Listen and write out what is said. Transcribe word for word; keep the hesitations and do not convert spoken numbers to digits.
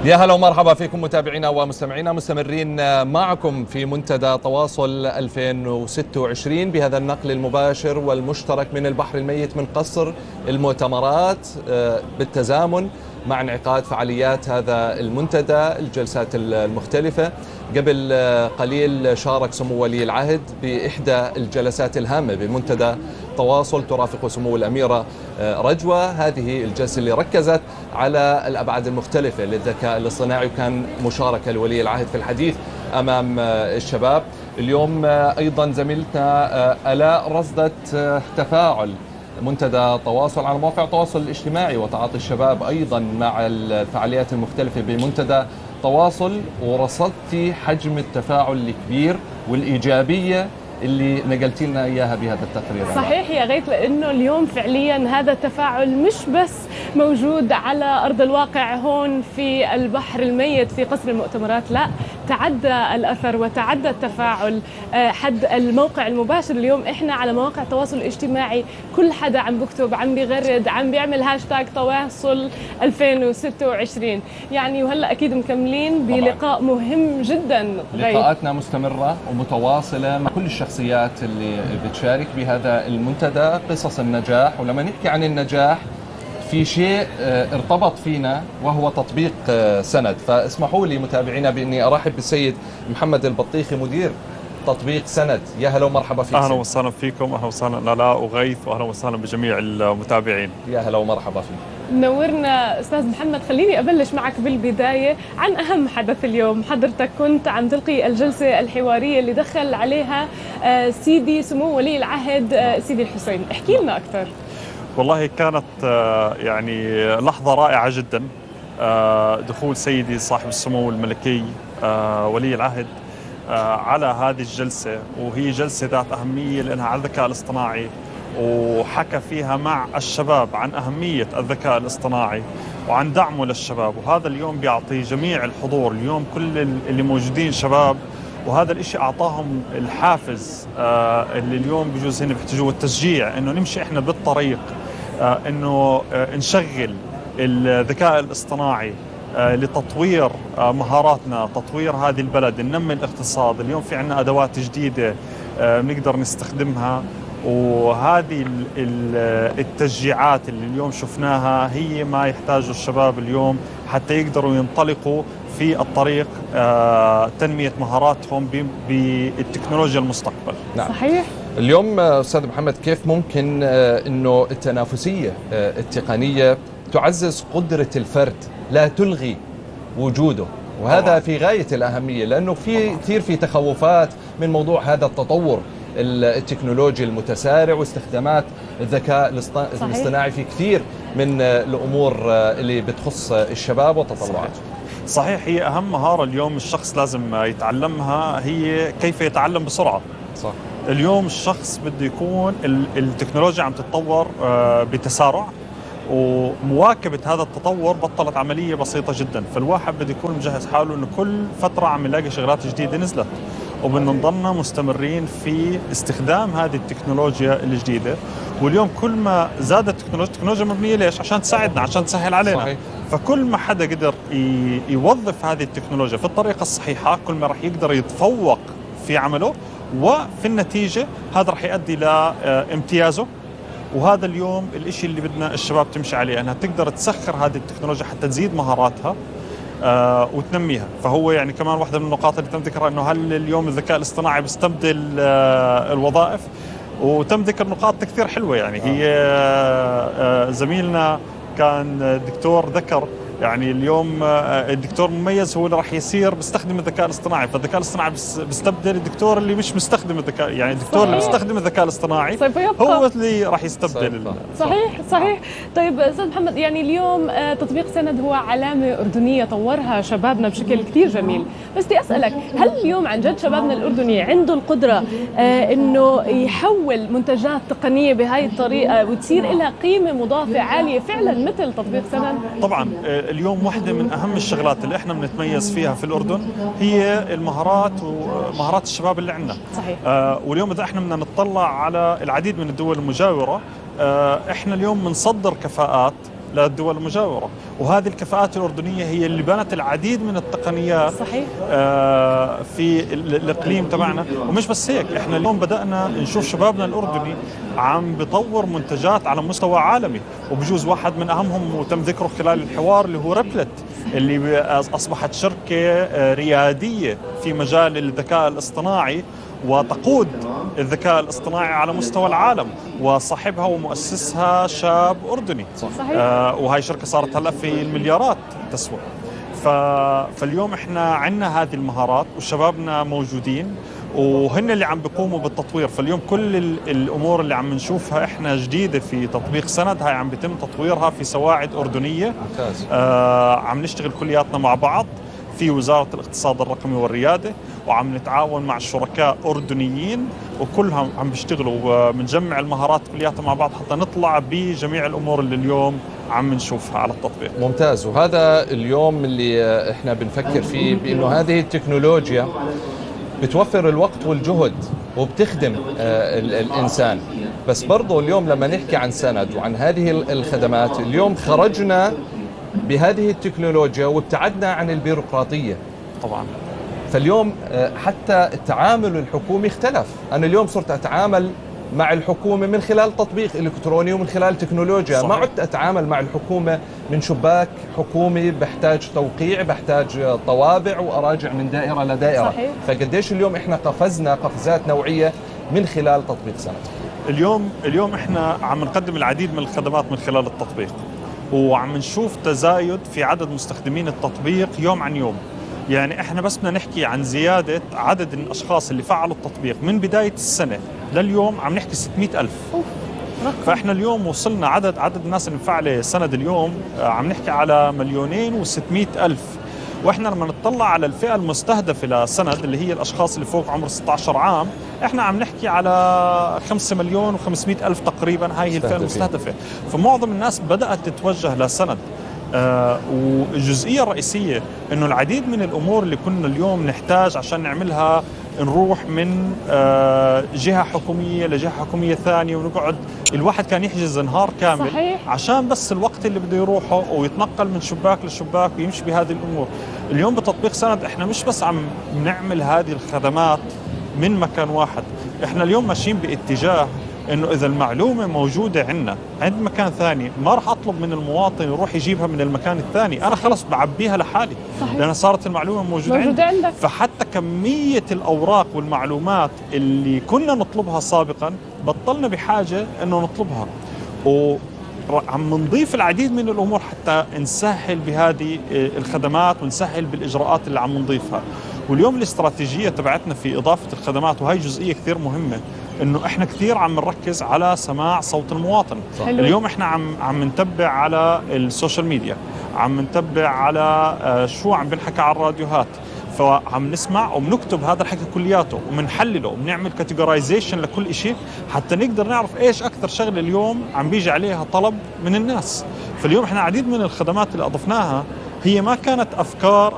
يا هلا ومرحبا فيكم متابعينا ومستمعينا، مستمرين معكم في منتدى تواصل ألفين وستة وعشرين بهذا النقل المباشر والمشترك من البحر الميت من قصر المؤتمرات بالتزامن مع انعقاد فعاليات هذا المنتدى، الجلسات المختلفة. قبل قليل شارك سمو ولي العهد بإحدى الجلسات الهامة بمنتدى تواصل ترافق سمو الأميرة رجوة. هذه الجلسة اللي ركزت على الأبعاد المختلفة للذكاء الاصطناعي، وكان مشاركة لولي العهد في الحديث أمام الشباب. اليوم أيضا زميلتنا آلاء رصدت تفاعل منتدى تواصل على مواقع التواصل الاجتماعي وتعاطي الشباب أيضا مع الفعاليات المختلفة بمنتدى تواصل، ورصدتي حجم التفاعل الكبير والإيجابية اللي نقلتي لنا إياها بهذا التقرير. صحيح يا غيث، لأنه اليوم فعليا هذا التفاعل مش بس موجود على أرض الواقع هون في البحر الميت في قصر المؤتمرات، لا، تعدى الأثر وتعدى التفاعل حد الموقع المباشر. اليوم إحنا على مواقع التواصل الاجتماعي كل حدا عم بكتب، عم بيغرد، عم بيعمل هاشتاج تواصل ألفين وستة وعشرين يعني. وهلأ أكيد مكملين بلقاء مهم جدا. لقاءاتنا مستمرة ومتواصلة مع كل الشخصيات اللي بتشارك بهذا المنتدى، قصص النجاح. ولما نحكي عن النجاح في شيء ارتبط فينا وهو تطبيق سند، فاسمحوا لي متابعينا باني ارحب بالسيد محمد البطيخي مدير تطبيق سند. يا هلا ومرحبا فيك. اهلا وسهلا فيكم، اهلا وسهلا آلاء وغيث، واهلا وسهلا بجميع المتابعين. يا هلا ومرحبا فيك. منورنا استاذ محمد. خليني ابلش معك بالبدايه عن اهم حدث اليوم. حضرتك كنت عم تلقي الجلسه الحواريه اللي دخل عليها سيدي سمو ولي العهد سيدي الحسين، احكي لنا اكثر. والله كانت يعني لحظه رائعه جدا، دخول سيدي صاحب السمو الملكي ولي العهد على هذه الجلسه، وهي جلسه ذات اهميه لانها على الذكاء الاصطناعي، وحكى فيها مع الشباب عن أهمية الذكاء الاصطناعي وعن دعمه للشباب. وهذا اليوم بيعطي جميع الحضور اليوم كل اللي موجودين شباب، وهذا الاشي أعطاهم الحافز آه اللي اليوم بجوز هنا بيحتاجوه، التشجيع إنه نمشي إحنا بالطريق، آه إنه آه نشغل الذكاء الاصطناعي آه لتطوير آه مهاراتنا، تطوير هذه البلد، ننمي الاقتصاد. اليوم في عنا أدوات جديدة آه بنقدر نستخدمها، وهذه التشجيعات اللي اليوم شفناها هي ما يحتاجه الشباب اليوم حتى يقدروا ينطلقوا في الطريق تنمية مهاراتهم بالتكنولوجيا المستقبل. نعم. صحيح. اليوم أستاذ محمد، كيف ممكن أنه التنافسية التقنية تعزز قدرة الفرد لا تلغي وجوده؟ وهذا طبعا في غاية الأهمية، لأنه في كثير في تخوفات من موضوع هذا التطور التكنولوجي المتسارع واستخدامات الذكاء الاصطناعي في كثير من الأمور اللي بتخص الشباب وتطلعاته. صحيح. هي أهم مهارة اليوم الشخص لازم يتعلمها هي كيف يتعلم بسرعة. صح. اليوم الشخص بده يكون التكنولوجيا عم تتطور بتسارع، ومواكبة هذا التطور بطلت عملية بسيطة جدا، فالواحد بده يكون مجهز حاله إنه كل فترة عم يلاقي شغلات جديدة نزلت، وبدنا نضلنا مستمرين في استخدام هذه التكنولوجيا الجديدة. واليوم كل ما زادت التكنولوجيا، التكنولوجيا مبنية ليش؟ عشان تساعدنا، عشان تسهل علينا. صحيح. فكل ما حدا قدر يوظف هذه التكنولوجيا في الطريقة الصحيحة، كل ما راح يقدر يتفوق في عمله، وفي النتيجة هذا راح يؤدي لامتيازه. وهذا اليوم الاشي اللي بدنا الشباب تمشي عليه، انها تقدر تسخر هذه التكنولوجيا حتى تزيد مهاراتها آه وتنميها. فهو يعني كمان واحدة من النقاط اللي تم ذكرها انه هل اليوم الذكاء الاصطناعي بيستبدل آه الوظائف، وتم ذكر نقاط كثير حلوة. يعني هي آه آه زميلنا كان دكتور ذكر يعني اليوم الدكتور مميز هو اللي راح يصير بيستخدم الذكاء الاصطناعي، فالذكاء الاصطناعي بيستبدل الدكتور اللي مش مستخدم الذكاء، يعني الدكتور اللي بيستخدم الذكاء الاصطناعي هو اللي راح يستبدل. صحيح صحيح. طيب استاذ محمد، يعني اليوم تطبيق سند هو علامة أردنية طورها شبابنا بشكل كثير جميل، بس بدي اسالك، هل اليوم عن جد شبابنا الأردني عنده القدرة انه يحول منتجات تقنية بهاي الطريقة وتصير لها قيمة مضافة عالية فعلا مثل تطبيق سند؟ طبعا اليوم واحدة من أهم الشغلات اللي إحنا بنتميز فيها في الأردن هي المهارات ومهارات الشباب اللي عندنا. صحيح. آه واليوم إذا إحنا بدنا نطلع على العديد من الدول المجاورة، آه إحنا اليوم بنصدر كفاءات للدول المجاورة. وهذه الكفاءات الأردنية هي اللي بنت العديد من التقنيات صحيح. آه في الإقليم تبعنا. ومش بس هيك، إحنا اليوم بدأنا نشوف شبابنا الأردني عم بطور منتجات على مستوى عالمي، وبجوز واحد من أهمهم وتم ذكره خلال الحوار اللي هو ريبلت، اللي أصبحت شركة ريادية في مجال الذكاء الاصطناعي وتقود الذكاء الاصطناعي على مستوى العالم، وصاحبها ومؤسسها شاب أردني. صحيح. آه وهي شركة صارت هلأ في المليارات تسوى. ف... فاليوم احنا عندنا هذه المهارات وشبابنا موجودين وهن اللي عم بيقوموا بالتطوير. فاليوم كل الأمور اللي عم نشوفها احنا جديدة في تطبيق سند هاي عم بيتم تطويرها في سواعد أردنية. ممتاز. آه عم نشتغل كلياتنا مع بعض في وزارة الاقتصاد الرقمي والريادة، وعم نتعاون مع الشركاء أردنيين وكلهم عم بيشتغلوا وبنجمع المهارات كلياتها مع بعض حتى نطلع بجميع الأمور اللي اليوم عم نشوفها على التطبيق. ممتاز. وهذا اليوم اللي احنا بنفكر فيه، بأنه هذه التكنولوجيا بتوفر الوقت والجهد وبتخدم آه الإنسان. بس برضو اليوم لما نحكي عن سند وعن هذه الخدمات، اليوم خرجنا بهذه التكنولوجيا وابتعدنا عن البيروقراطية طبعا. فاليوم حتى التعامل الحكومي اختلف. أنا اليوم صرت أتعامل مع الحكومة من خلال تطبيق إلكتروني ومن خلال تكنولوجيا. صحيح. ما عدت أتعامل مع الحكومة من شباك حكومي بحتاج توقيع، بحتاج طوابع وأراجع من دائرة لدائرة. صحيح. فقديش اليوم إحنا قفزنا قفزات نوعية من خلال تطبيق سند. اليوم اليوم إحنا عم نقدم العديد من الخدمات من خلال التطبيق، وعم نشوف تزايد في عدد مستخدمين التطبيق يوم عن يوم. يعني احنا بس بدنا نحكي عن زيادة عدد الأشخاص اللي فعلوا التطبيق من بداية السنة لليوم عم نحكي ستمئة ألف. فاحنا اليوم وصلنا عدد عدد الناس اللي مفعلة سند اليوم عم نحكي على مليونين وستمئة ألف. واحنا لما نطلع على الفئة المستهدفة لسند اللي هي الأشخاص اللي فوق عمر ستة عشر عام، احنا عم نحكي على خمسة مليون وخمسمئة ألف تقريبا. هاي هي الفئة المستهدفة. فمعظم الناس بدأت تتوجه لسند. آه والجزئية الرئيسية انه العديد من الامور اللي كنا اليوم نحتاج عشان نعملها نروح من آه جهة حكومية لجهة حكومية ثانية ونقعد، الواحد كان يحجز نهار كامل. صحيح. عشان بس الوقت اللي بده يروحه ويتنقل من شباك لشباك ويمشي بهذه الامور. اليوم بتطبيق سند احنا مش بس عم نعمل هذه الخدمات من مكان واحد، احنا اليوم ماشيين باتجاه انه اذا المعلومه موجوده عندنا عند مكان ثاني ما راح اطلب من المواطن يروح يجيبها من المكان الثاني، انا خلص بعبيها لحالي. صحيح. لان صارت المعلومه موجوده, موجودة عندي. عندك. فحتى كميه الاوراق والمعلومات اللي كنا نطلبها سابقا بطلنا بحاجه انه نطلبها، وعم نضيف العديد من الامور حتى نسهل بهذه الخدمات ونسهل بالاجراءات اللي عم نضيفها. واليوم الاستراتيجيه تبعتنا في اضافه الخدمات، وهي جزئيه كثير مهمه، انه احنا كثير عم نركز على سماع صوت المواطن. صح. اليوم احنا عم عم نتبع على السوشيال ميديا، عم نتبع على شو عم بنحكى على الراديوهات، فعم نسمع وبنكتب هذا الحكي كلياته وبنحلله وبنعمل كاتيجورايزيشن لكل شيء حتى نقدر نعرف ايش اكثر شغله اليوم عم بيجي عليها طلب من الناس. فاليوم احنا عديد من الخدمات اللي اضفناها هي ما كانت افكار أو